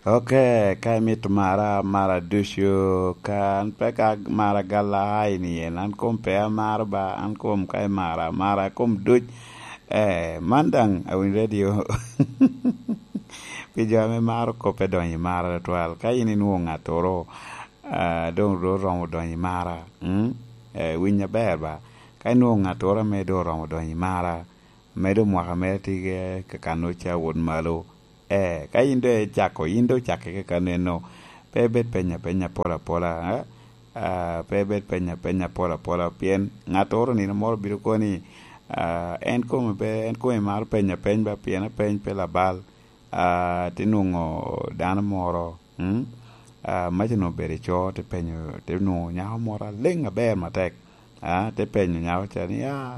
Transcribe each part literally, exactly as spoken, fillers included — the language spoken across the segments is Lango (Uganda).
Ok, ka imito mara, mara ducu, ka an pe ka mara galla ai ni en, an kom pe amaro ba, an kom ka imara, amara kom duc. Eh, man daŋ awinyo radio. Pi jo ame maro kop pe donyo i mara tutwal. Ka in inwoŋo ŋattoro, ah, doŋ ru oromo donyo i mara. Mm? Eh, winy aber ba. Ka inwoŋo ŋattoro ame doŋ oromo donyo i mara, medo mwaka mere tye ka kano ca wot malo. Eh, ka in doŋ icako, in doŋ ocakke ka kaneno, pe ibed penya penya pol apola, eh? Ah, pe ibed penya penya pol apola, pien ŋattoro nino moro bino kono ni, ah, en kome pe, en kome maro penya peny ba, pien apeny pe labal. Ah, te nwoŋo dano moro, mm? Ah, maca onwoŋo obedo i co, te penyo, te nwoŋo nyako moro aleŋ aber matek. Ah, te penyo nyako ca ni, "Ah,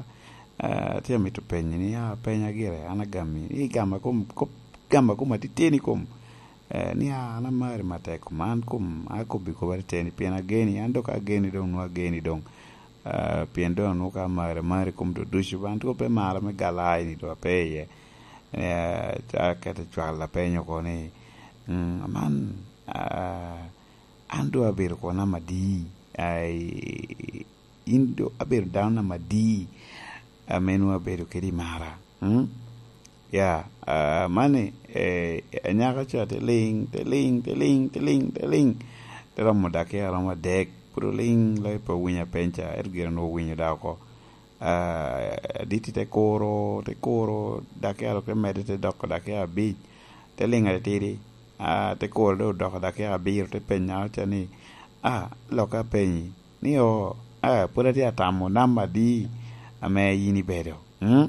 ah, atye amito penyi ni, ah, penya gire, an agami, ni gama kom, kop, gama kom atiteni kom." Eh, ni, "Ah, an amari matek kom, an kom, akobbi kop atiteni, pien ageni, an dok ageni doŋ, nwoŋo ageni doŋ." Ah, pien doŋ anwoŋo ka amari, amari kom doŋ ducu, ba an twero pe mara me galla ai ni doŋ ape iye. Eh, ca kete cwal apenyo oko ni, "Mm, aman, ah, an doŋ abedo kono namba adi? Ai, in doŋ abedo dano namba adi ame nwoŋo abedo kede i mara?" Mm? Ya, ah, mani, eh, anyaka ca te liŋ, te liŋ, te liŋ, te liŋ, te liŋ. Te romo dakika romo adek, pwod oliŋ, loi pe owinyo apeny ca, ento gire onwoŋo owinyo da oko. Ah, aditi te kuro, te kuro, dakika dok te medde te doko dakika abic, te liŋ atitidi. Ah, te kuro doŋ odoko dakika abiro, te penya ca ni, "Ah, lok apenyi, ni o, ah, pwod atye atamo namba adi ame yin ibedo?" Mm?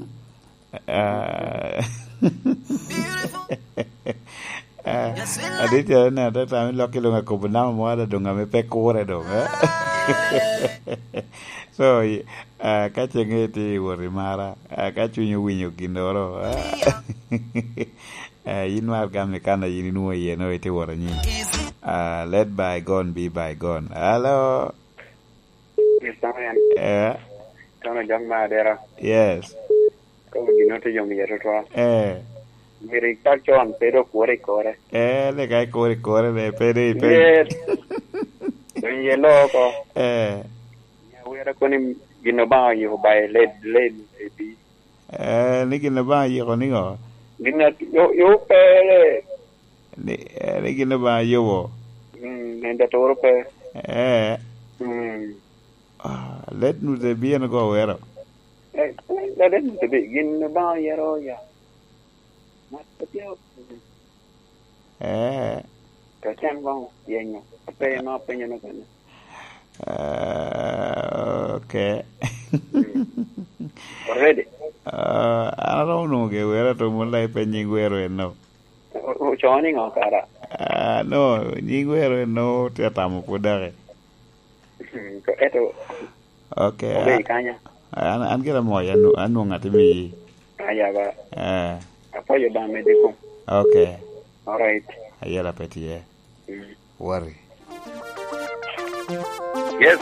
Ah, ah, adit calo ne atata me lok i lwongo akobo namba mo ada doŋ ame pe kure doŋ, eh? So, i-, ah, ka ceŋe tye i wot i mara, ah, ka cwiny owinyo ginnoro, ah, ah, in mar gam i kan a yin inwoŋo iye, nwoŋo itye wot anyin. Ah, let bygone be bygone. Hello? Yes, sir. Eh? Kono jok me adera. Yes. Kono gin ote yom iye tutwal. Eh. Myero ipak con, pe dok wot ikore. Eh, lega ikore ikore, ne, pe de ipe. Yes. Donyo iye loo oko. Eh. Nya wira koni gin Obaŋa oyiko ba i led, led, i pi. Eh, ni gin Obaŋa oyiko niŋo? Gin a-, yo, yo pere. Ni, eh, ni gin Obaŋa yubo. Mm, en da toro pe. Eh. Mm. Ah, let nu de bien go wero. Eh, let nu de bi-, gin Obaŋa oyero ya. Mat pe tye. Eh. Ka cen koŋ yenyo. Ape ma apenyo no kene. Ah, ok. Mm. Already? Ah, an aromo nwoŋo ge wero to mula ipe nying wero en no. O-, o-, ocoo niŋo kara? Ah, no, nying wero en no tye atamo pwod dake. Mm, to eto Ok, obedo a-, kanya? An, an gira mo, an, an nwoŋo atye miyi. Aya ba. Eh. Apwoyo Obaŋa medde kom. Ok. Alright. Ayela pe tye. Mm. Worry. Yes.